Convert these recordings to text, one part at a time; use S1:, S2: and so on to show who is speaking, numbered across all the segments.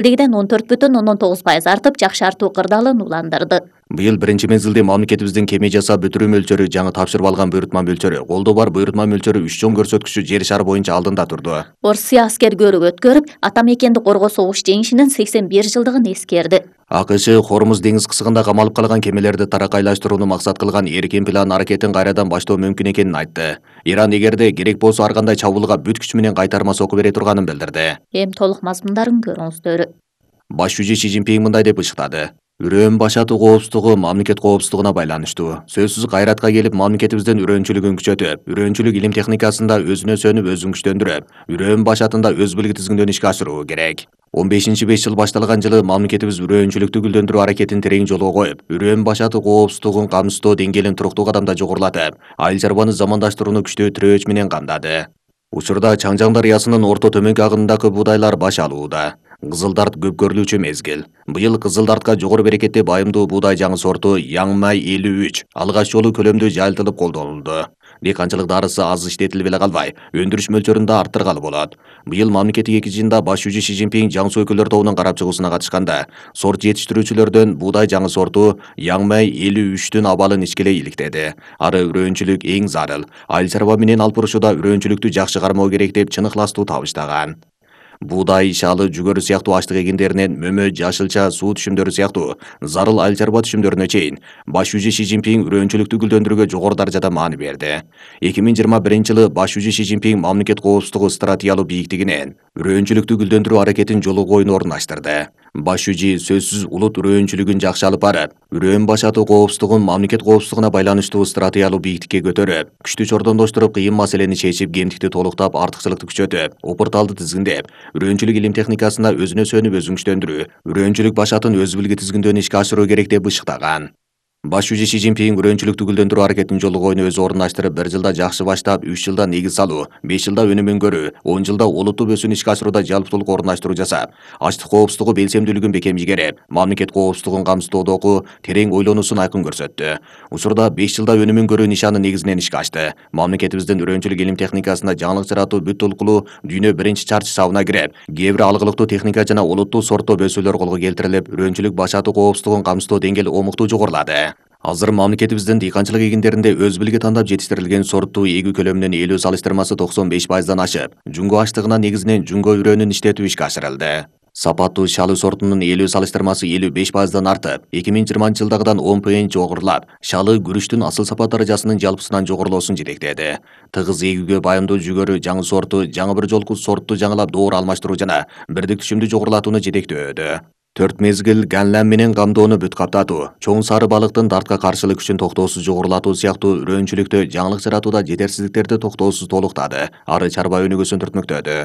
S1: илдегиден 14,9% артып, жакшы артуу кырдаалын уландырды.
S2: Быйыл биринчи мезгилде мамлекетибиздин кеме жасап бүтүрүү мөлчөрү жаңы тапшырып алган буйрутма мөлчөрү, колдоо бар буйрутма мөлчөрү 3 чоң көрсөткүчү жер шары боюнча алдында турду.
S1: Орусия аскер көрүк өткөрүп, ата мекенди коргоо согуш жеңишинин 81 жылдыгын эскерди.
S2: АКШ Хормуз деңиз кысыгында камалып калган кемелерди таракайлаштырууну максат кылган эркин план аракетин кайрадан баштоо мүмкүн экенин айтты. Иран эгерде керек болсо ар кандай чабуулга бүт күчү менен кайтарма сокку бере турганын билдирди.
S1: Эми толук мазмундарын көрүңүздөр.
S2: Баш жүзү Си Цзиньпин мындай деп ышыктады. Үрөөн башатуу коопсуздугу мамлекет коопсуздугуна байланыштуу. Сөзсүз кайратка келип, мамлекетибиздин үрөөнчүлүгүн күчөтүп, үрөөнчүлүк илим техникасында өзүнө сөнүп өзүн күчтөндүрүп, үрөөн башатында өз билги тизгиндөн ишке ашыруу керек. 15-5 жыл башталган жылы мамлекетибиз үрөөнчүлүктү гүлдөндүрүү аракетин терең жолго коюп, үрөөн башатуу коопсуздугун камсыздоо деңгээлин туруктуу кадамда жогорулатып, айыл чарбаны замандаштырууну күчтөө тирөөч менен камдады. Учурда Чаңжаң дарыясынын орто төмөнкү агымындагы буудайлар баш алууда. Кызылдарт көп көрүлүүчү мезгил. Быйыл кызылдартка жогору берекетте байымдуу буудай жаңы сорту Яңмай 53 алгач жолу көлөмдүү жайылтылып колдонулду. Дыйканчылык дарысы аз иштетилип эле калбай, өндүрүш мөлчөрүн да арттыргалы болот. Быйыл мамлекеттик экичинде баш жүзү Си Цзиньпин жаңсу өкүлдөр тобунун карап чыгуусуна катышканда, сорт жетиштирүүчүлөрдөн буудай жаңы сорту Яңмай 53-түн абалын ичкелей иликтеди. Ары үрөөнчүлүк эң зарыл. Айыл чарба менен алпурушуда үрөөнчүлүктү жакшы кармоо керек деп чын ыхластуу табыштаган. Буудай, шалы, жүгөрү сыяктуу аштык эгиндеринен мөмө, жашылча, суу түшүмдөрү сыяктуу зарыл айыл чарба түшүмдөрүнө чейин баш жүзү Си Цзиньпин үрөөнчүлүктү гүлдөндүрүүгө жогору даражада маани берди. 2021-жылы баш жүзү Си Цзиньпин мамлекет коопсуздугу стратегиялуу бийиктигинен үрөөнчүлүктү гүлдөндүрүү аракетин жолу коюуну орундаштырды. Баш жүзү сөзсүз улут үрөөнчүлүгүн жакшы алып барып, үрөөн башатуу коопсуздугун мамлекет коопсуздугуна байланыштуу стратегиялуу бийиктикке көтөрүп, күчтү чордондоштуруп, кыйын маселени чечип, кемтикти толуктап, артыкчылыкты күчөтүп, опурталды тизгиндеп, үрөөнчүлүк илим техникасында өзүнө сөнүп өзүн күчтөндүрүү, үрөөнчүлүк башатын өз билги тизгиндөн ишке ашыруу керек деп ышыктаган. Баш жүзү Си Цзиньпин үрөөнчүлүктү гүлдөндүрүү аракетин жолу коюуну өзү орундаштырып, 1 жылда жакшы баштап, 3 жылда негиз салуу, 5 жылда өнүмүн көрүү, 10 жылда олуттуу өсүүнү ишке ашырууда жалпылык орундаштыруу жасап, ачлык коопсуздугу белсемдүүлүгүн бекем ийгереп, мамлекет коопсуздугун камсыздоодогу терең ойлонуусун айкын көрсөттү. Учурда 5 жылда өнүмүн көрүү нишаны негизинен ишке ашты. Мамлекетибиздин үрөөнчүлүк илим техникасында жаңылык жаратуу бүт толкулуу дүйнө биринчи чарчы сабына кирип, кээ бир алгылыктуу техника жана олуттуу сорттоо өсүүлөр колго келтирилип, үрөөнчүлүк башатуу коопсуздугун камсыздоо деңгээли омуктуу жогорулады. Азыр мамлекетибиздин дыйканчылык эгиндеринде өз билги тандап жетиштирилген сорттуу эгүү көлөмүнүн ээлөө салыштырмасы 95%дан ашып, жунго аштыгына негизинен жунго үрөөнүн иштетүү ишке ашырылды. Сапаттуу шалы сортунун ээлөө салыштырмасы 55%дан артып, 2020-жылдагыдан 10 пойнт жогорулап, шалы күрүчтүн асыл сапат даражасынын жалпысынан жогорулоосун жетектеди. Тыгыз эгүүгө байымдуу жүгөрү жаңы сорту жаңы бір жолку сортту жаңылап доор алмаштыруу жана бирдик түшүмдү жогорулатууну жетектөөдө. 4 мезгил ганлам менен камдоону бүт каптатуу, чоң сары балыктын дартка каршылык күчүн токтоосуз жогорулатуу сыяктуу үрөөнчүлүктө жаңылык жаратууда жетерсиздиктерди токтоосуз толуктады, ары чарба өнүгүүсүн түртмөктөдү.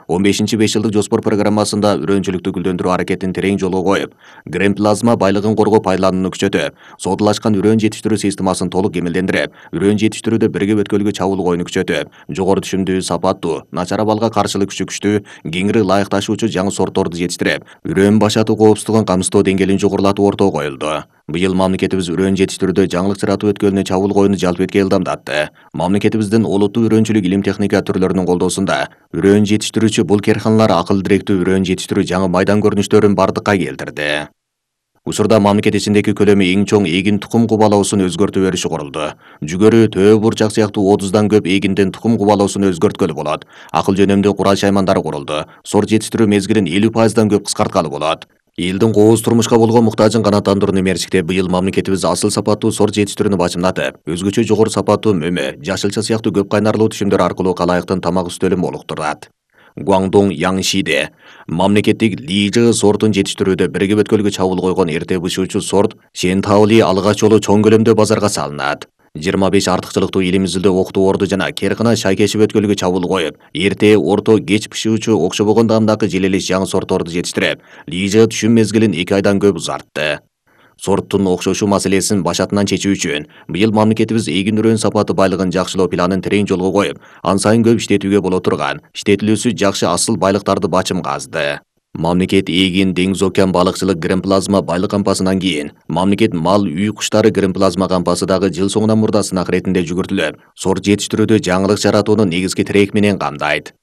S2: 15-5 жылдык жоспор программасында үрөөнчүлүктү гүлдөндүрүү аракетин терең жолго коюп, грем плазма байлыгын коргоо пайдаланууну күчөтүп, содалашкан үрөөн жетиштирүү системасын толук кемелдендирип, үрөөн жетиштирүүдө бирге өткөлгө чабуул коюуну күчөтүп, жогору түшүмдүү, сапаттуу, начар абалга каршылык күчү күчтүү, кеңири ылайыкташуучу жаңы сортторду жетиштирип, үрөөн башатуу коопсуздугун камсыздоо деңгээлин жогорулатуу ортого коюлду. Быйыл мамлекетибиз үрөөн жетиштирүүдө жаңылык жаратуу өткөлүнө чабуул коюуну жалпы эткиле ылдамдатты. Мамлекетибиздин олуттуу үрөөнчүлүк илим техника түрлөрүнүн колдоосунда үрөөн жетиштирүүчү бул керканалар акыл директүү үрөөн жетиштирүү жаңы майдан көрүнүштөрүн бардыкка келтирди. Учурда мамлекет ичиндеги көлөмү эң чоң эгин тукум кубалоосун өзгөртүп бериши курулду. Жүгөрү, төө бурчак сыяктуу 30дан көп эгиндин тукум кубалоосун өзгөрткөлү болот. Акыл жөнөмдүү курал-шаймандары курулду. Сорт жетиштирүү мезгилин 50%дан көп кыскарткалы болот. Элдин кооз турмушка болгон муктажын канааттандырууну мерчиктеп, быйыл мамлекетибиз асыл сапаттуу сорт жетиштирүүнү бачымдатып, өзгөчө жогору сапаттуу мөмө, жашылча сыяктуу көп кайнарлуу түшүмдөр аркылуу калайыктын тамак үстөлүн молуктурат. Гуаңдоң Яңшиде мамлекеттик Лижы сортун жетиштирүүдө бирге өткөлгө чабуул койгон эрте бышуучу сорт Шентаули алгач жолу чоң көлөмдө базарга салынат. 25 артыкчылыктуу илим изилдөө октуу орду жана Керкына шайкешип өткөлгө чабуул коюп, эрте, орто, кеч бышуучу окшобогон даамдагы желелеш жаңы сортторду жетиштирип, Лижы түшүм мезгилин 2 айдан көп узартты. Сорттун окшошуу маселесин башатынан чечүү үчүн быйыл мамлекетибиз эгин үрөөн сапаты байлыгын жакшылоо планын терең жолго коюп, ан сайын көп иштетүүгө боло турган, иштетилүүсү жакшы асыл байлыктарды бачымга азды. Мамлекет эгин, деңиз океан балыкчылык грем-плазма байлык кампасынан кийин, мамлекет мал, үй куштары грем-плазма кампасы дагы жыл соңунан мурда сынак иретинде жүгүртүлүп, сорт жетиштирүүдө жаңылык жаратууну негизги тирек менен камдайт.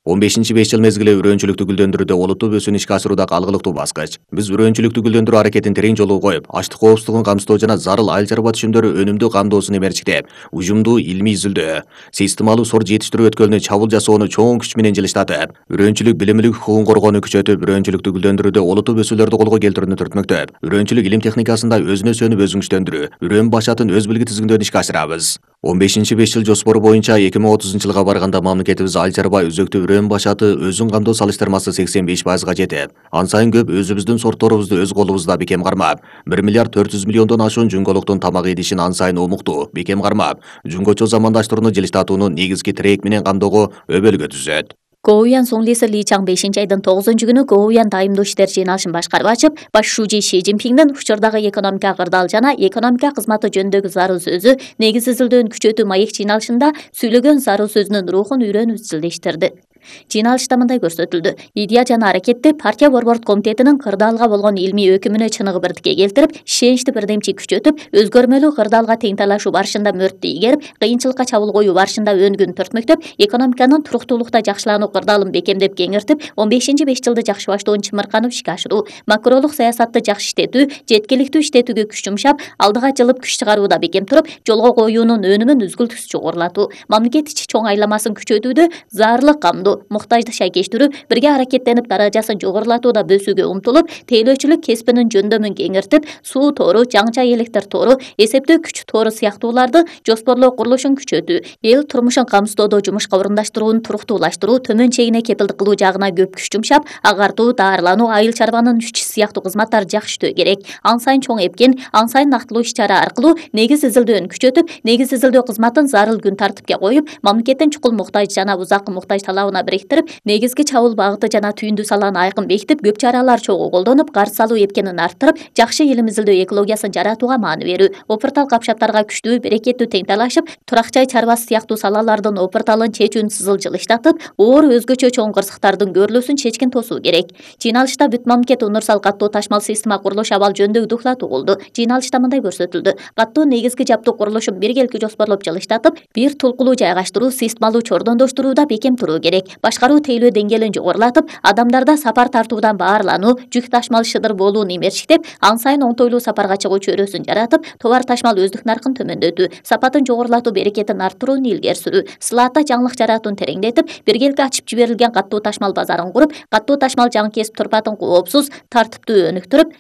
S2: 15-5 жыл мезгили үрөөнчүлүктү гүлдөндүрүүдө олуттуу өсүүнү ишке ашырууда калгылыктуу баскыч. Биз үрөөнчүлүктү гүлдөндүрүү аракетин терең жолго коюп, ачлык коопсуздугун камсыздоо жана зарыл айыл чарба түшүмдөрү өнүмдүү камдоосун эмерчиктеп, ужумдуу илмий изилдөө, системалуу сор жетиштирүү өткөлүнө чабуул жасоону чоң күч менен жылыштатып, үрөөнчүлүк билимилик хукугун коргоону күчөтүп, үрөөнчүлүктү гүлдөндүрүүдө олуттуу өсүүлөрдү колго келтирүүнү түртмөктөп, үрөөнчүлүк илим техникасында өзүнө сөнүп өзүн күчтөндүрүү, үрөөн башатын өз билги тизгиндөөдү ишке ашырабыз. 15-5 жыл жоспору боюнча 2030-жылга барганда мамлекетибиз айыл чарба үзөктүү үрөөн башаты өзүн камдоо салыштырмасы 85%га жетип, ан сайын көп өзүбүздүн сортторубузду өз колубузда бекем кармап, 1 миллиард 400 миллиондон ашуун жүнгөлүктүн тамак идишин ан сайын омуктуу, бекем кармап, жүнгөчө замандаштырууну жылыштатуунун негизги тирек менен камдоого өбөлгө түзөт.
S1: Гоуян Сонглиси Ли Чаң 5-айдын 9-күнү Гоуян дайымдуу иштер жыйналышын башкарып ачып, баш шужи Ши Цзиньпиндин учурдагы экономика кырдаал жана экономика кызматы жөнүндөгү зарыл сөзү негиз изилдөөнү күчөтүү маек жыйналышында сүйлөгөн зарыл сөзүнүн рухун үйрөнүп изилдештирди. Жыйналышта мындай көрсөтүлдү: идея жана аракетти партия борборд комитетинин кырдаалга болгон илмий өкүмүнө чыныгы бирдикке келтирип, ишеничти бирдемчи күчөтүп, өзгөрмөлүү кырдаалга тең талашуу барышында мөрттү ийгерип, кыйынчылыкка чабуул коюу барышында өнгүн түртмөктөп, экономиканын туруктуулукта жакшылануу кырдаалын бекемдеп кеңиртип, 15-5 жылды жакшы баштоон чымырканып ишке ашыруу, макролук саясатты жакшы иштетүү, жеткиликтүү иштетүүгө күч жумшап, алдыга жылып күч чыгарууда бекем туруп, жолго коюунун өнүмүн үзгүлтүксүз жогорулатуу, мамлекет ичи чоң айламасын күчөтүүдө зарлык камдоо, муктажды шайкештирүү, бирге аракеттенип даражасын жогорулатууда бөсүүгө умтулуп, тейлөөчүлүк кесибинин жөндөмүн кеңиртип, суу тору, жаңча электр тору, эсептөө күч тору сыяктууларды жоспорлоо курулушун күчөтүү, эл турмушун камсыздоодо жумушка орундаштырууну туруктуулаштыруу, төмөн чегине кепилдик кылуу жагына көп күч жумшап, агартуу, даарылануу, айыл чарбанын иши сыяктуу кызматтар жакшы иштөө керек. Ан сайын чоң эпкен, ан сайын нактылуу иш-чара аркылуу негиз изилдөөнү күчөтүп, негиз изилдөө кызматын зарыл күн тартипке коюп, мамлекеттин чукул муктаж жана узаккы муктаж талабына бириктирип, негизги чабуул багыты жана түйүндүү саланы айкын бекитип, көп чаралар чогуу колдонуп, карыз салуу эпкенин арттырып, жакшы илим изилдөө экологиясын жаратууга маани берүү, опуртал капшаптарга күчтүү, берекеттүү тең талашып, турак жай чарбасы сыяктуу салалардын опурталын чечүүнү сызыл жылыштатып, оор өзгөчө чоң кырсыктардын көрүлүүсүн чечкин тосуу керек. Жыйналышта бүт мамлекет универсал каттоо ташмал система курулуш абал жөнүндөгү доклады болду. Жыйналышта мындай көрсөтүлдү: каттоо негизги жаптуу курулушун биргеликти жоспорлоп жылыштатып, бир тулкулуу жайгаштыруу, системалуу чордондоштурууда бекем туруу керек. Башкаруу тейлөө деңгээлин жогорулатып, адамдарда сапар тартуудан баарлануу, жүк ташмал шыдыр болуун эмерчиктеп, ан сайын оңтойлуу сапарга чыгуу чөйрөсүн жаратып, товар ташмал өздүк наркын төмөндөтүү, сапатын жогорулатуу, берекетин арттырууну илгери сүрүү, сылаатта жаңылык жаратууну тереңдетип, биргеликти ачып жиберилген каттуу ташмал базарын куруп, каттуу ташмал жаңы кесип турпатын коопсуз, тартиптүү өнүктүрүп,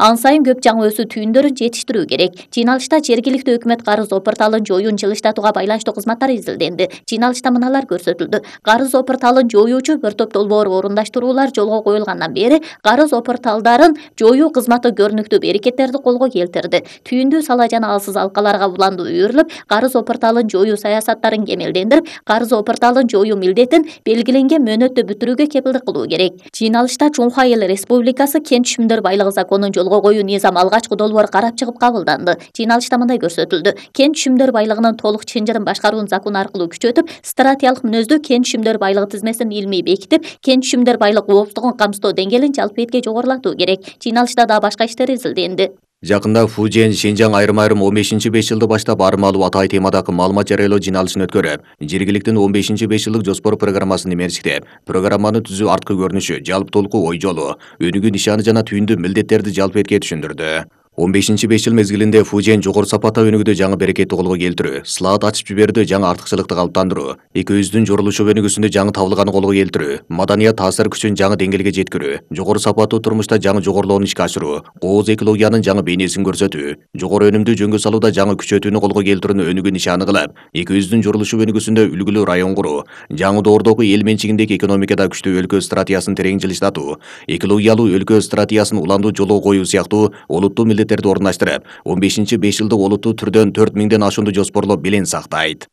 S1: ан сайын көп жаңы өсүү түйүндөрүн жетиштирүү керек. Жыйналышта жергиликтүү өкмөт карыз опурталын жоюун жылыштатууга байланыштуу кызматтар изилденди. Жыйналышта мыналар көрсөтүлдү: карыз опурталын жоюучу бір топ долбоор орундаштыруулар жолго коюлгандан бери карыз опурталдарын жоюу кызматы көрүнүктүү берекеттерди колго келтирди. Түйүндүү сала жана алсыз алкаларга уланду үйрүлүп, карыз опурталын жоюу саясаттарын кемелдендирип, карыз опурталын жоюу милдетин белгиленген мөөнөттө бүтүрүүгө кепилдик кылуу керек. Жыйналышта Чуңха Эл Республикасы Кент түшүмдөр байлыгы законун жолго коюу низам алгачкы долбоор карап чыгып кабылданды. Жыйналышта мындай көрсөтүлдү: кент түшүмдөр байлыгынын толук чынжырын башкаруун закон аркылуу күчөтүп, стратегиялык мүнөздүү кент түшүмдөр байлыгы тизмесин илмий бекитип, кент түшүмдөр байлык коопсуздугун камсыздоо деңгээлин жалпы этке жогорулатуу керек. Жыйналышта да башка иштер изилденди.
S2: Жакында Фужен, Шинжаң айрым-айрым 15-5 жылды баштап армалуу атай темадагы маалымат жарыялоо жыйналышын өткөрүп, жергиликтин 15-5 жылдык жоспор программасын эмерчиктеп, программаны түзүү арткы көрүнүшү, жалпы толку ой жолу, өнүгүү нишаны жана түйүндүү милдеттерди жалпы этке түшүндүрдү. 15-5 жыл мезгилинде Фужен жогору сапатта өнүгүүдө жаңы берекетти колго келтирүү, сылаат ачып жиберүүдө жаңы артыкчылыкты калыптандыруу, экөөбүздүн жорулушу өнүгүүсүндө жаңы табылганы колго келтирүү, маданият таасир күчүн жаңы деңгээлге жеткирүү, жогору сапаттуу турмушта жаңы жогорулоону ишке ашыруу, кооз экологиянын жаңы бейнесин көрсөтүү, жогору өнүмдүү жөнгө салууда жаңы күчөтүүнү колго келтирүүнү өнүгүү нишаны кылып, экөөбүздүн жорулушу өнүгүүсүндө үлгүлүү район куруу, жаңы доордогу эл менчигиндеги экономикада күчтүү өлкө стратегиясын терең жылыштатуу, экологиялуу өлкө стратегиясын уландуу жолго коюу сыяктуу олуттуу милдеттерди орундаштырып, 15-5 жылдык олуттуу түрдөн 4000ден ашуунду жоспорлоп белең сактайт.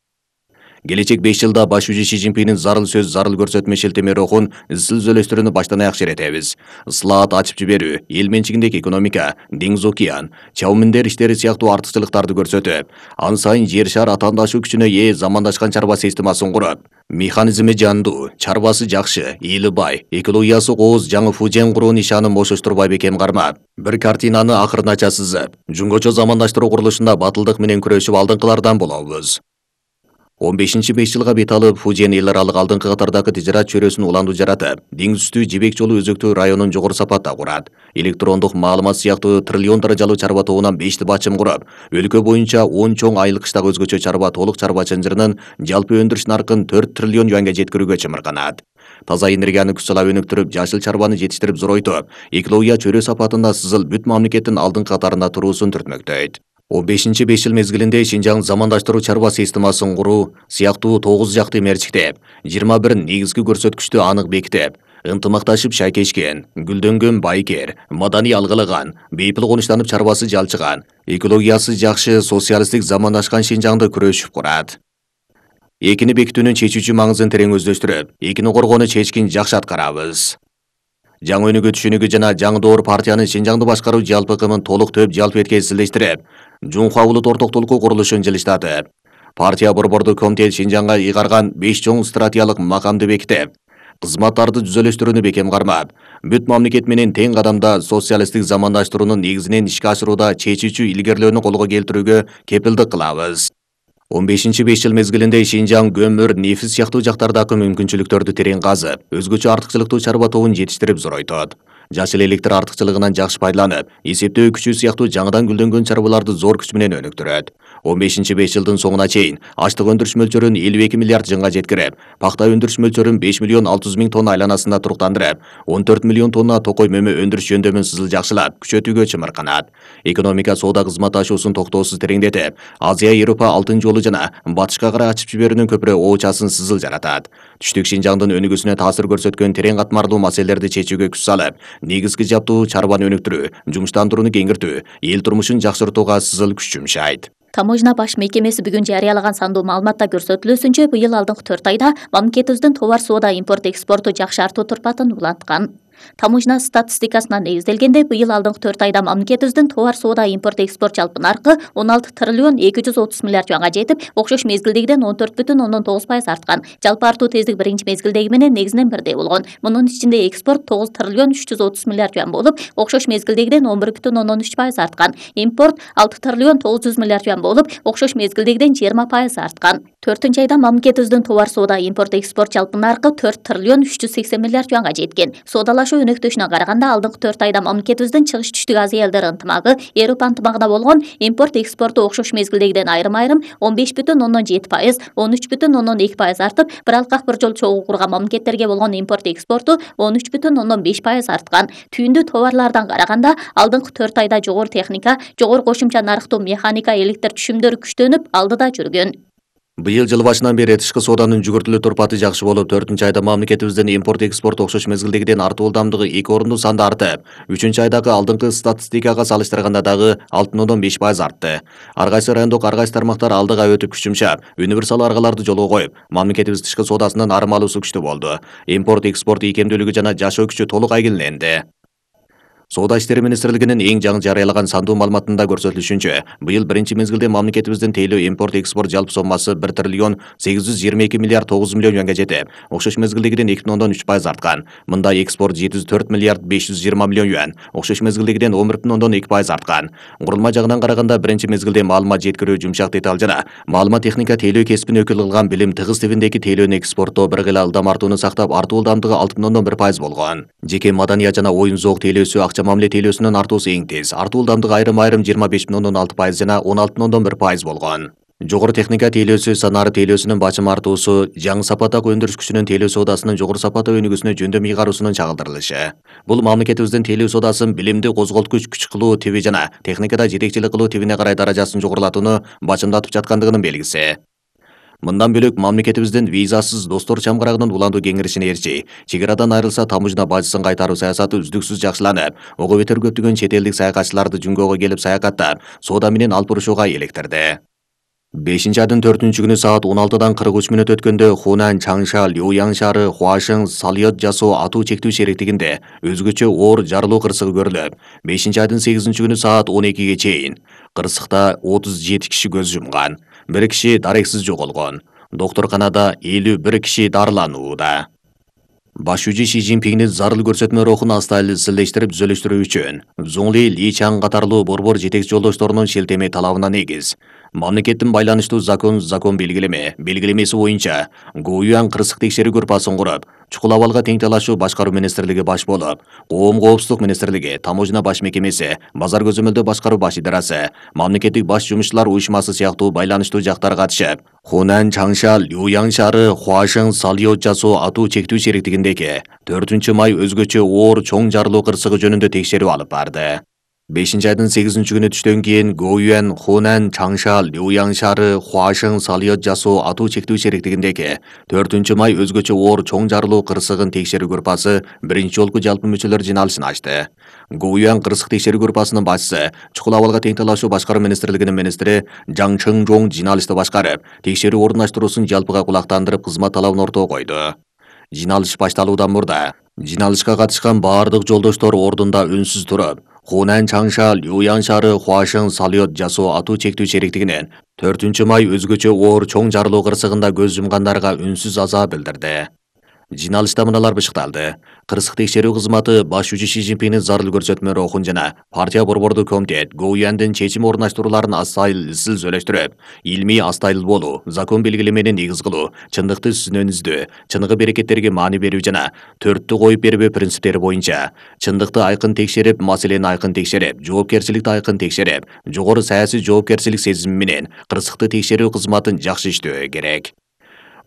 S2: Келечек 5 жылда баш шужи Ши Цзиньпиндин зарыл сөз, зарыл көрсөтмө шилтеме рухун изчил өзөлөштүрүүнү баштан аяк шеретебиз. Ысылаат ачып жиберүү, эл менчигиндеги экономика, деңиз океан, чабуу миндер иштери сыяктуу артыкчылыктарды көрсөтүп, ан сайын жер шар атаандашуу күчүнө ээ замандашкан чарба системасын куруп, механизми жандуу, чарбасы жакшы, эли бай, экологиясы кооз жаңы Фужен куруу нишанын бошоштурбай бекем кармап, бир картинаны акырынача сызып, жүнгөчө замандаштыруу курулушунда батылдык менен күрөшүп алдыңкылардан болобуз. 15 жылга бет алып, Фужен эл аралык алдыңкы катардагы тижарат чөйрөсүн уландуу жаратып, деңиз үстү жибек жолу өзөктүү районун жогору сапатта курат. Электрондук маалымат сыяктуу триллион даражалуу чарба тобунан 5 бачым куруп, өлкө боюнча 10 чоң айыл кыштагы өзгөчө чарба толук чарба чынжырынын жалпы өндүрүш наркын 4 триллион юанга жеткирүүгө чымырганат. Таза энергияны күч сала өнүктүрүп, жашыл чарбаны жетиштирип зоройтуп, экология чөйрө сапатында сызыл бүт мамлекеттин алдыңкы катарында туруусун түртмөктөйт. 15 5 жыл мезгилинде Шинжаң замандаштыруу чарба системасын куруу сыяктуу 9 жакты мерчиктеп, 21 негизги көрсөткүчтү анык бекитип, ынтымакташып шайкешкен, гүлдөнгөн байкер, маданий алгылаган, бейпил конуштанып чарбасы жалчыган, экологиясы жакшы, социалисттик замандашкан Шинжаңды күрөшүп курат. Экини бекитүүнүн чечүүчү маңызын терең өздөштүрүп, экини коргоону чечкин жакшы аткарабыз. Жаңы өнүгүү түшүнүгү жана жаңы доор партиянын Шинжаңды башкаруу жалпы кымын толук төп жалпы эткезилиштирип, Жунхва улут ортоктулуку курулушун жылыштатып, партия борбордук комитет Шинжаңга ыйгарган 5 чоң стратегиялык макамды бекитип, кызматтарды түзөлүштүрүүнү бекем кармап, бүт мамлекет менен тең кадамда социалисттик замандаштыруунун негизинен ишке ашырууда чечүүчү илгерилөөнү колго келтирүүгө кепилдик кылабыз. 15 5 жыл мезгилинде Шинжаң көмүр, нефис сыяктуу жактардагы мүмкүнчүлүктөрдү терең казып, өзгөчө артыкчылыктуу чарба тобун жетиштирип зоройтот. Жашыл электр артыкчылыгынан жакшы пайдаланып, эсептөө күчү сыяктуу жаңыдан гүлдөнгөн чарбаларды зор күч менен өнүктүрөт. 15 5 жылдын соңуна чейин аштык өндүрүш мөлчөрүн 52 миллиард жыңга жеткирип, пакта өндүрүш мөлчөрүн 5 миллион 600 миң тонна айланасында туруктандырып, 14 миллион тонна токой мөмө өндүрүш жөндөмүн сызыл жакшылап, күчөтүүгө чымырганат. Экономика соода кызматташуусун токтоосуз тереңдетип, Азия Европа алтын жолу жана батышка карай ачып жиберүүнүн көпүрө оочасын сызыл жаратат. Түштүк Шинжаңдын өнүгүүсүнө таасир көрсөткөн терең катмарлуу маселелерди чечүүгө күч салып, негизги жаптуу чарбаны өнүктүрүү, жумуштандырууну кеңиртүү, эл турмушун жакшыртууга сызыл күч жумшайт.
S1: Таможня баш мекемеси бүгүн жарыялаган сандуу маалыматта көрсөтүлүүсүнчө, быйыл алдыңкы 4 айда мамлекетибиздин товар соода импорт экспорту жакшы артуу турпатын уланткан. Таможня статистикасына негизделгенде, быйыл алдыңкы 4 айда мамлекетибиздин товар соода импорт экспорт жалпы наркы 16 триллион 230 миллиард юанга жетип, окшош мезгилдегиден 14,9% арткан. Жалпы артуу тездик биринчи мезгилдеги менен негизинен бирдей болгон. Мунун ичинде экспорт 9 триллион 330 миллиард юан болуп, окшош мезгилдегиден 11,3% арткан. Импорт 6 триллион 900 миллиард юан болуп, окшош мезгилдегиден 20% арткан. 4 айда мамлекетибиздин товар соода импорт экспорт жалпы наркы 4 триллион 380 миллиард юанга жеткен. Соодалашуу өнөктөшүнө караганда, алдыңкы 4 айда мамлекетибиздин чыгыш түштүк Азия элдер ынтымагы, Европа ынтымагына болгон импорт экспорту окшош мезгилдегиден айрым-айрым 15,7%, 13,2% артып, биралык бир жол чогуу курган мамлекеттерге болгон импорт экспорту 13,5% арткан. Түйүндүү товарлардан караганда, алдыңкы 4 айда жогору техника, жогору кошумча нарыктуу механика, электр түшүмдөрү күчтөнүп, алдыда жүргөн.
S2: Быйыл жыл башынан бери тышкы сооданын жүгүртүлүү турпаты жакшы болуп, 4 айда мамлекетибиздин импорт экспорт окшош мезгилдегиден артуу ылдамдыгы 2 орунду санда артып, 3-айдагы алдыңкы статистикага салыштырганда дагы 6,5% артты. Ар кайсы райондук ар кайсы тармактар алдыга өтүп күч жумшап, универсал аргаларды жолго коюп, мамлекетибиз тышкы соодасынын арым алуусу күчтүү болду. Импорт экспорт ийкемдүүлүгү жана жашоо күчү толук айгинеленди. Соода иштери министрлигинин эң жаңы жарыялаган сандуу маалыматында көрсөтүлүшүнчө, быйыл биринчи мезгилде мамлекетибиздин тейлөө импорт экспорт жалпы соммасы 1 триллион 822 миллиард 900 миллион юанга жетип, окшош мезгилдегиден 2,3% арткан. Мында экспорт 704 миллиард 520 миллион юан, окшош мезгилдегиден 11,2% арткан. Курулма жагынан караганда, биринчи мезгилде маалымат жеткирүү, жумшак деталь жана маалымат техника тейлөө кесибин өкүл кылган билим тыгыз тибиндеги тейлөөнү экспорттоо бир кыйла ылдам артууну сактап, артуу ылдамдыгы 6,1% болгон. Жеке маданият жана оюн зоок тейлөөсү мамиле тейлөөсүнүн артуусу эң тез. Артуу ылдамдыгы айрым-айрым 25,6% жана 16,1% болгон. Жогору техника тейлөөсү, санары тейлөөсүнүн бачым артуусу, жаңы сапаттагы өндүрүш күчүнүн тейлөө соодасынын жогору сапаттуу өнүгүүсүнө жөндөм ыйгаруусунун чагылдырылышы. Бул мамлекетибиздин тейлөө соодасын билимди козголткуч күч кылуу тиби жана техникада жетекчилик кылуу тибине карай даражасын жогорулатууну бачымдатып жаткандыгынын белгиси. Мындан бөлөк мамлекетибиздин визасыз достор чамгарагынын уландуу кеңиришине эрчи, чек арадан айрылса таможня бажысын кайтаруу саясаты үздүксүз жакшыланып, ого бетер көптөгөн чет элдик саякатчыларды Жүнгөөгө келип саякаттап, соода менен алпурушууга электирди. 5-айдын 4-күнү саат 16:43 өткөндө Хунан, Чаңша, Люян шаары, Хуашың, Салиот жасоо атуу чектүү шериктигинде өзгөчө оор жарылуу кырсыгы көрүлүп, 5-айдын 8-күнү саат 12-ге чейин кырсыкта 37 киши көз жумган, 1 киши дарексиз жоголгон. Доктурканада 51 киши дарыланууда. Баш жүчү Си Цзиньпиңдин зарыл көрсөтмө рухун астайлы-сыллештирип түзөлүштүрүү үчүн Зуңли, Ли Чаң катарлуу борбор жетекчи жолдошторунун шилтеме талабына негиз Мамлекеттин байланыштуу закон белгилемеси боюнча Гоюян кырсык текшерүү группасын куруп, чукул абалга тең талашуу башкаруу министрлиги баш болуп, Коом коопсуздук министрлиги, Таможня баш мекемеси, Базар көзөмөлдөө башкаруу баш идарасы, мамлекеттик баш жумушчулар уюшмасы сыяктуу байланыштуу жактар катышып, Хунан Чаңша Люяң шаары Хуашың Сальот жасоо атуу чектүү шериктигиндеги 4 май өзгөчө оор чоң жарылуу кырсыгы жөнүндө текшерүү алып барды. 5-айдын 8-күнү түштөн кийин Гоюян Хунан Чаңша Люяң шаары Хуашың Сальот жасоо атуу чектүү шериктигиндеги 4-май өзгөчө оор чоң жарылуу кырсыгын текшерүү группасы биринчи жолку жалпы мүчөлөр жиналышын ачты. Гоюян кырсык текшерүү группасынын башчысы, чукул абалга тең талашуу башкаруу министрлигинин министри Жаң Чыңжоң жиналышты башкарып, текшерүү орундаштыруусун жалпыга кулактандырып кызмат талабын ортого койду. Жиналыш башталуудан мурда жиналышка катышкан баардык жолдоштор ордунда үнсүз туруп, Хунан Чаңша Люяң шаары Хуашың Сальот жасоо атуу чектүү шериктигинин 4-май өзгөчө оор чоң жарылуу кырсыгында көз жумгандарга үнсүз азаа билдирди. Жиналышта мыналар бышыкталды. Кырсык текшерүү кызматы баш жумушчу Си Цзиньпиндин зарыл көрсөтмөлөрү окун жана партия борбордук комитет Гоюяндын чечим орундаштырууларын астайыл сүйлөштүрүп, илмий астайыл болуу, закон белгилемени негиз кылуу, чындыкты сүзүнөн издөө, чыныгы берекеттерге маани берүү жана төрттү коюп бербөө принциптери боюнча чындыкты айкын текшерип, маселени айкын текшерип, жоопкерчиликти айкын текшерип, жогору саясий жоопкерчилик сезими менен кырсыкты текшерүү кызматын жакшы иштөө керек.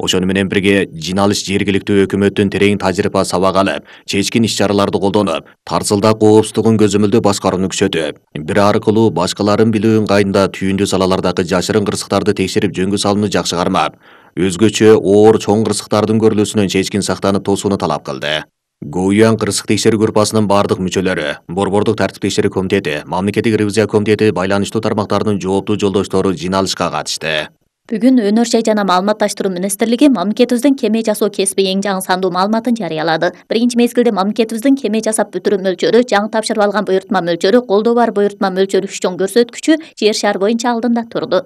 S2: Ошону менен бирге жиналыш жергиликтүү өкмөттүн терең тажрыйба сабак алып, чечкин иш-чараларды колдонуп, тарсылдаа коопсуздугун көзөмөлдөө башкарууну күчөтүп, бир аркылуу башкалардын билүү ыңгайында түйүндүү салалардагы жашырын кырсыктарды текшерип жөнгө салууну жакшы кармап, өзгөчө оор чоң кырсыктардын көрүлүүсүнөн чечкин сактанып тосууну талап кылды. Гоюян кырсык текшерүү группасынын бардык мүчөлөрү, борбордук тартип текшерүү комитети, мамлекеттик ревизия комитети байланыштуу тармактардын жооптуу жолдоштору жиналышка катышты.
S1: Бүгүн Өнөр жай жана маалыматташтыруу министрлиги мамлекетибиздин кеме жасоо кесиби эң жаңы сандуу маалыматын жарыялады. Биринчи мезгилде мамлекетибиздин кеме жасап бүтүрүү мөлчөрү, жаңы тапшырып алган буйртма мөлчөрү, колдоо бар буйртма мөлчөрү үч чоң көрсөткүчү жер шаар боюнча алдында турду.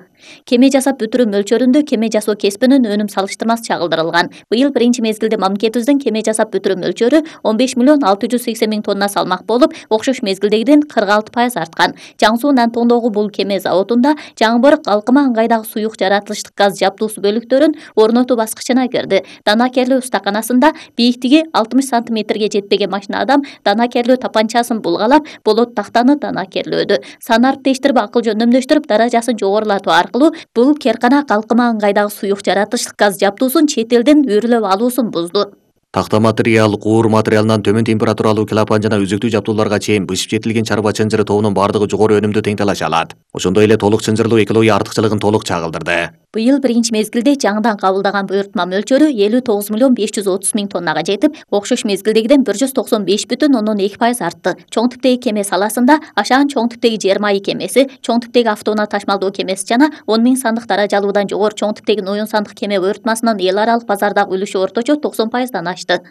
S1: Кеме жасап бүтүрүү мөлчөрүндө кеме жасоо кесибинин өнүм салыштырмасы чагылдырылган. Быйыл биринчи мезгилде мамлекетибиздин кеме жасап бүтүрүү мөлчөрү 15.680.000 тонна салмак болуп, окшош мезгилдегиден 46% арткан. Жаңы Суу Нантондогу бул кеме заводунда жаңы бырык алкыма ыңгайдагы суюк жаратылыштык газ жабдуусу бөлүктөрүн орнотуу баскычына кирди. Дана керлөө устаканасында бийиктиги 60 сантиметрге жетпеген машина адам дана керлөө тапанчасын булгалап, болот тактаны дана керлөөдү. Санарып тештирип, акыл жөндөмдөштүрүп, даражасын жогорулатуу аркылуу бул керканак алкыма ыңгайдагы суюк жаратылыштык газ жабдуусун чет элден үйрүлөп алуусун бузду.
S2: Такта материал, куур материалынан төмөн температуралуу клапан жана үзүктүү жабдууларга чейин бышып жетилген чарба чынжыры тобунун бардыгы жогору өнүмдү тең талаша алат. Ошондой эле толук чынжырлуу экология артыкчылыгын толук чагылдырды. Быйыл
S1: биринчи мезгилде жаңыдан кабылдаган буйртма мөлчөрү 59.530.000 тоннага жетип, окшош мезгилдегиден 195.2% артты. Чоң типтеги кеме саласында Ашаан чоң типтеги жер майы кемеси, чоң типтеги автоунаа ташмалдоо кемеси жана 10.000 сандык даражалуудан жогору чоң типтеги ноюн сандык кеме буйртмасынын эл аралык базардагы үлүшү орточо 90%дан ашты.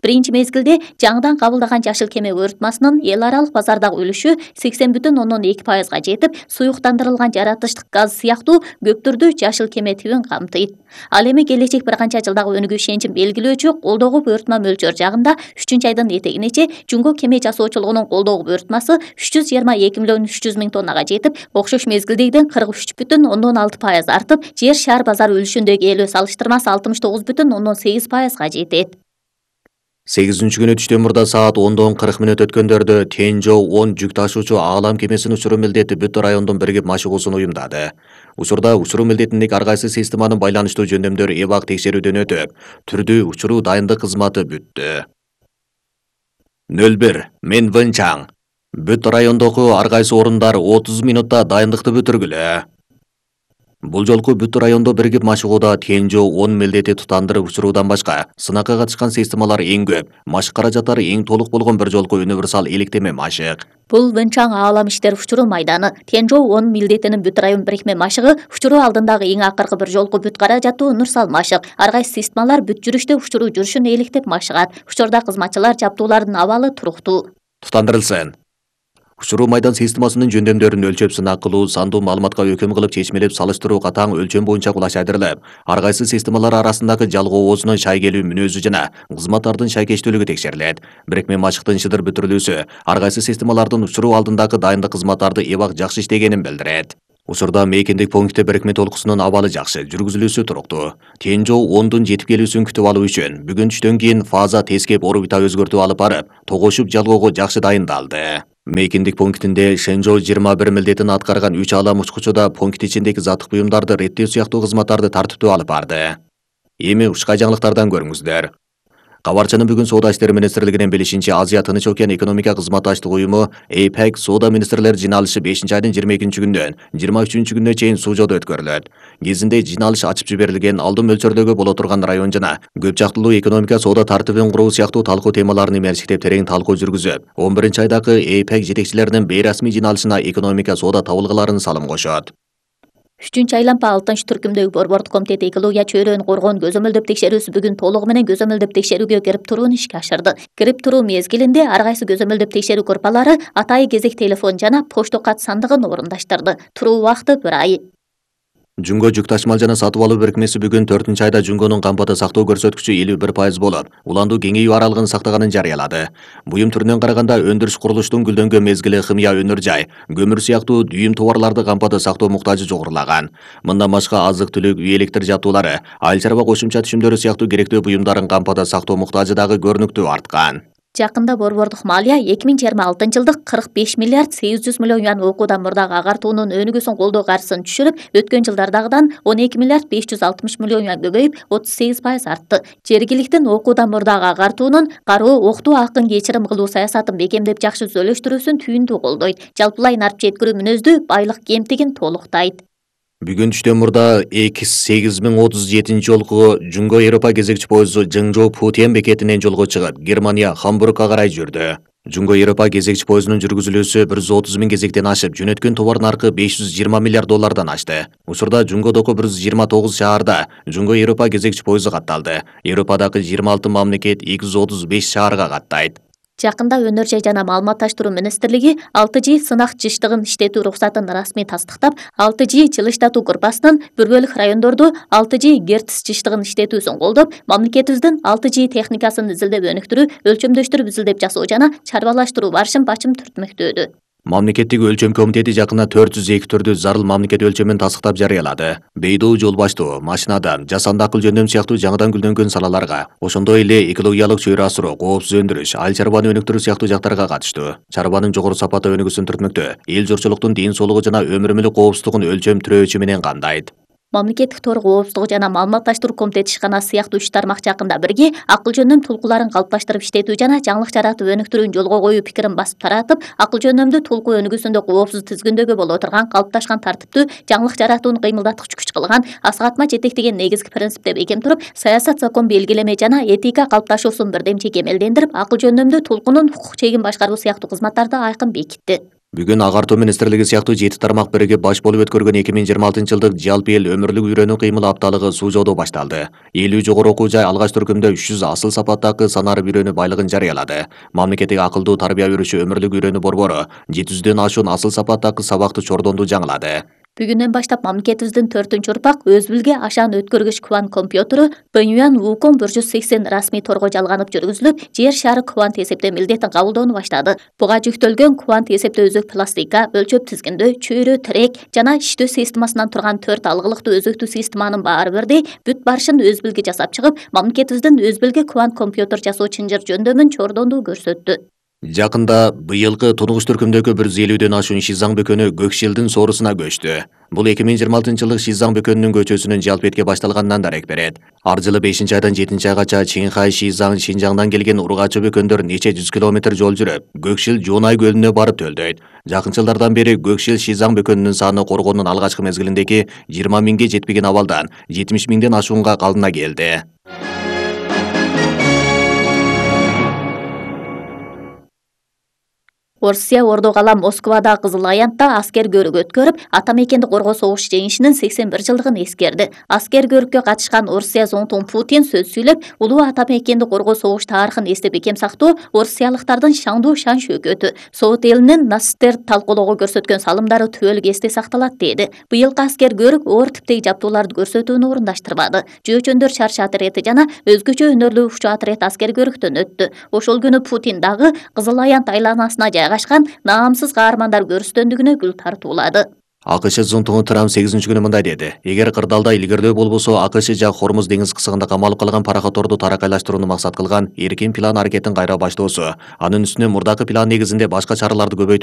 S1: Биринчи мезгилде жаңыдан кабылдаган жашыл кеме буйртмасынын эл аралык базардагы үлүшү 80.2%га жетип, суюктандырылган жаратылыштык газ сыяктуу көптүрдүү жашыл кеме тибин камтыйт. Ал эми келечек бир канча жылдагы өнүгүү ишенчин белгилөөчү колдоого буйртма мөлчөр жагында 3-айдын этегинече Жунго кеме жасоочулугунун колдоого буйртмасы 322.300.000 тоннага жетип, окшош мезгилдегиден 43.6% артып, жер шаар базар үлүшүндөгү ээлөө салыштырмасы 69.8%га жетет.
S2: 8-күнү түштөн мурда саат 10:40 өткөндөрдө Тенжо 10 жүк ташуучу аалам кемесин учуруу милдети бүт райондун биригип машыгуусун уюмдады. Учурда учуруу милдетиндеги ар кайсы системанын байланыштуу жөндөмдөрү эбак текшерүүдөн өтүп, түрдүү учуруу дайындык кызматы бүттү. 01 Мен Вэнчаң. Бүт райондогу ар кайсы орундар 30 минутта дайындыкты бүтүргүлө. Бул жолку бүт райондо биригип машыгууда Тенжо 10 милдети тутандырып учуруудан башка сынакка катышкан системалар эң көп, машык каражаттары эң толук болгон бир жолку универсал электеме машык.
S1: Бул Вэнчаң аалам иштер учуруу майданы. Тенжо 10 милдетинин бүт район бирикме машыгы учуруу алдындагы эң акыркы бир жолку бүт каражаттуу универсал машык. Ар кайсы системалар бүт жүрүштө учуруу жүрүшүн электеп машыгат. Учурда кызматчылар жабдуулардын абалы туруктуу.
S2: Тутандырылсын. Учуруу майдан системасынын жөндөмдөрүн өлчөп сынак кылуу, сандуу маалыматка өкүм кылып чечмелеп салыштыруу катаң өлчөм боюнча кулашайдырылып, ар кайсы системалар арасындагы жалгоо оозунун шай келүү мүнөзү жана кызматтардын шайкечтүүлүгү текшерилет. Бирикме машыктын шыдыр бүтүрүлүүсү ар кайсы системалардын учуруу алдындагы дайындык кызматтарды эбак жакшы иштегенин билдирет. Учурда мейкиндик пунктте бирикме толкусунун абалы жакшы, жүргүзүлүүсү туруктуу. Тен жол 10дун жетип келүүсүн күтүп алуу үчүн бүгүн түштөн кийин фаза тескеп орбита өзгөртүү алып барып, тогошуп жалгоого жакшы дайындалды. Мейкиндик пунктинде Шенжоу 21 милдетин аткарган 3 алам учкучу да пункт ичиндеги заттык буюмдарды реттөө сыяктуу кызматтарды тартиптүү алып барды. Эми ушка жаңылыктардан көрүңүздөр. Кабарчынын бүгүн Соода иштери министрлигинин билишинче, Азия Тынч океан экономика кызматташтык уюму APEC соода министрлер жиналышы 5-айдын 22-күндөн 23-күнүнө чейин Сужоодо өткөрүлөт. Кезинде жиналыш ачып жиберилген алдын мөлчөрдөгү боло турган район жана көп жактылуу экономика соода тартибин куруу сыяктуу талкуу темаларын эмерчиктеп терең талкуу жүргүзүп, 11-айдагы APEC жетекчилеринин бейрасмий жиналышына экономика соода табылгыларын салым кошот.
S1: 3-айланпа 6-түркүмдөгү Борбордук комитет экология чөйрөнү коргоонун көзөмөлдөп текшерүүсү бүгүн толугу менен көзөмөлдөп текшерүүгө кирип туруун ишке ашырды. Кирип туруу мезгилинде ар кайсы көзөмөлдөп текшерүү группалары атайы кезек телефон жана почта кат сандыгын орундаштырды. Туруу убакыты 1 ай.
S2: Жунго жүк ташмал жана сатып алуу бирикмеси бүгүн 4-айда Жунгонун кампада сактоо көрсөткүчү 51% болуп, уландуу кеңейүү аралыгын сактаганын жарыялады. Буюм түрүнөн караганда өндүрүш курулуштун гүлдөнгөн мезгили химия өнөр жай, көмүр сыяктуу дүйүм товарларды кампада сактоо муктажы жогорулаган. Мындан башка азык-түлүк, үй электр жабдуулары, айыл чарба кошумча түшүмдөрү сыяктуу керектүү буюмдарын кампада сактоо муктажы дагы көрүнүктүү арткан.
S1: Жакында Борбордук малия 2026-жылдык 45 миллиард 800 миллион юан окуудан мурдагы агартуунун өнүгүүсүн колдоо каржысын түшүрүп, өткөн жылдардагыдан 12 миллиард 560 миллион юан көбөйүп, 38% артты. Жергиликтин окуудан мурдагы агартуунун кароо окутуу акын кечирим кылуу саясатын бекемдеп жакшы түзөлүштүрүүсүн түйүндүү колдойт. Жалпылай нарып жеткирүү мүнөздүү байлык кемтигин толуктайт.
S2: Бүгүн түштөн мурда X8037 жолку Жунго Европа кезекчи поезду Жыңжоу Путен бекетинен жолго чыгып, Германия Хамбургга карай жүрдү. Жунго Европа кезекчи поездунун жүргүзүлүүсү 130 миң кезектен ашып, жөнөткөн товар наркы 520 миллиард доллардан ашты. Учурда Жунгодогу 129 шаарда Жунго Европа кезекчи поезду катталды. Европадагы 26 мамлекет 235 шаарга каттайт.
S1: Жакында Өнөр жай жана маалыматташтыруу министрлиги 6G сынак жыштыгын иштетүү уруксатын расмий тастыктап, 6G жылыштатуу группасынын бир бөлүк райондордо 6G герц жыштыгын иштетүүсүн колдоп, мамлекетибиздин 6G техникасын изилдеп өнүктүрүү, өлчөмдөштүрүп изилдеп жасоо жана чарбалаштыруу барышын бачым түртмөктөдү.
S2: Мамлекеттик өлчөм комитети жакында 400 гектарды зарыл мамлекет өлчөмүн тастыктап жарыялады. Бейдоо, жол баштоо, машинада, жасанды акыл жөндөм сыяктуу жаңыдан гүлдөнгөн салаларга, ошондой эле экологиялык чөйрө асыруу, коопсуз өндүрүш, айыл чарбаны өнүктүрүү сыяктуу жактарга катыштуу. Чарбанын жогору сапаты өнүгүүсүн түртмөктө, эл журтчулуктун ден соолугу жана өмүр мүлүк коопсуздугун өлчөм тирөөчү менен камдайт.
S1: Мамлекеттик тор коопсуздугу жана маалыматташтыруу комитети ишканасы сыяктуу 3 тармак жакында бирге акыл жөндөм тулкуларын калыпташтырып иштетүү жана жаңылык жаратып өнүктүрүүнү жолго коюу пикирин басып таратып, акыл жөндөмдүү тулкуу өнүгүүсүндө коопсуз тизгиндөөгө боло турган калыпташкан тартиптүү жаңылык жаратууну кыймылдаткыч күч кылган Асык жетектеген негизги принципти бекем туруп, саясат, закон белгилеме жана этика калыпташуусун бирдемчи кемелдендирип, акыл жөндөмдүү тулкунун укук чегин башкаруу сыяктуу кызматтарды айкын бекитти.
S2: Бүгүн агартуу министрлиги сыяктуу 7 тармак биригип баш болуп өткөргөн 2026-жылдык жалпы эл өмүрлүк үйрөнүү кыймыл апталыгы Сужоодо башталды. 50 жогору окуу жай алгач түркүмдө 300 асыл сапаттагы санарып үйрөнүү байлыгын жарыялады. Мамлекеттик акылдуу тарбия берүүчү өмүрлүк үйрөнүү борбору 700дөн ашуун асыл сапаттагы сабакты чордонду жаңылады.
S1: Бүгүндөн баштап мамлекетибиздин 4-урпак өз билге ашаан өткөргүч квант компьютеру Бэйюан Wukong 180 расмий торго жалганып жүргүзүлүп, жер шары квант эсептөө милдетин кабылдоону баштады. Буга жүктөлгөн квант эсептөө өзөк пластика, өлчөп тизгиндөө, чөйрө, тирек жана иштөө системасынан турган 4 алгылыктуу өзөктүү системанын баары бирдей бүт барышын өз билге жасап чыгып, мамлекетибиздин өз билге квант компьютер жасоо чынжыр жөндөмүн чордондуу көрсөттү.
S2: Жакында быйылкы тунугуш түркүмдөгү 150дөн ашуун Шизаң бөкөнү Көкшилдин соорусуна көчтү. Бул 2026-жылдык Шизаң бөкөнүнүн көчүүсүнүн жалпетке башталганынан дарек берет. Ар жылы 5-айдан 7-айгача Чинхай, Шизаң, Шинжаңдан келген ургачы бөкөндөр нече жүз километр жол жүрүп, Көкшил Жуунай көлүнө барып төлдөйт. Жакын жылдардан бери Көкшил Шизаң бөкөнүнүн саны коргоонун алгачкы мезгилиндеги 20 миңге жетпеген абалдан 70 миңден ашуунга калдына келди.
S1: Орусия ордо калам Москвада Кызыл Аянтта аскер көрүк өткөрүп, ата мекенди коргоо согуш жеңишинин 81 жылдыгын эскерди. Аскер көрүккө катышкан Орусия зонтун Путин сөз сүйлөп, улуу ата мекенди коргоо согуш тарыхын эстеп бекем сактоо орусиялыктардын шаңдуу шан шөкөтү. Совет элинин нацисттер талкуулоого көрсөткөн салымдары түбөлүк эсте сакталат деди. Быйылкы аскер көрүк оор типтеги жабдууларды көрсөтүүнү орундаштырбады. Жөөчөндөр чарчы отрети жана өзгөчө өнөрлүү укчу отрет аскер көрүктөн өттү. Ошол күнү Путин дагы Кызыл Аянт айланасына жайгашкан наамсыз каармандар көрүстөндүгүнө гүл тартуулады.
S2: АКШ зонтугу Трамп 8-күнү мындай деди: эгер кырдаалда илгердөө болбосо, АКШ жак Хормуз деңиз кысыгында камалып калган пароходдорду таракайлаштырууну максат кылган эркин план аракетин кайра баштоосу, анын үстүнө мурдакы план негизинде башка чараларды көбөйтүүсү